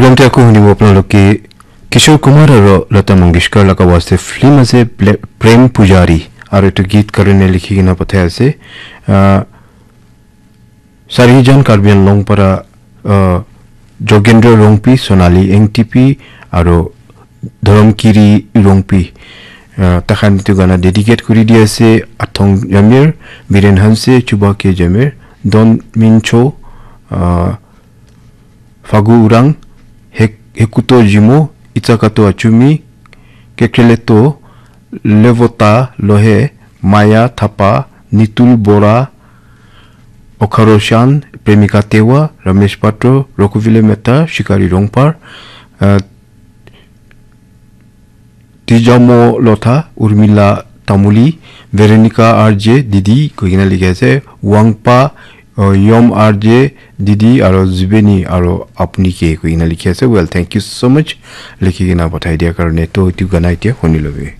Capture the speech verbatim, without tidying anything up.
Program te aku hunibo apnaloke Kishore Kumar aro Lata Mangeshkar laga waste film ase Ple- Prem Pujari, aro etu git karone likhi kena pathai ase. Ah, Sarijan Karbi Anglong para, ah, Jogendra Rongpi, Sonali Engtipi, aro Dhoramkiri Rongpi. Ah, takhan etu gana dedicate kuri di ase Athong Jamir, Biren Hanse, Chuba K Jamir, Don Mincho, ah, Fagu Urang, Hek- Hekuto Jimo, Itsakato Achumi, Kekreleto, Levota Lohe, Maya Thapa, Nitul Bora, Okharoshan, Premika Tewa, Ramesh Patro, Rokuvile Mehta, Shikari Rongpar, uh, Tijamo Lotha, Urmila Tamuli, Veronica R J Didi koikena likhi ase, Wangpa, uh, Yom R J Didi, aro Zubeni, aro Apni Ke koikena likhi ase. Well, thank you so much likhi kena pathai dia karone. To etu gana etia huni lobi.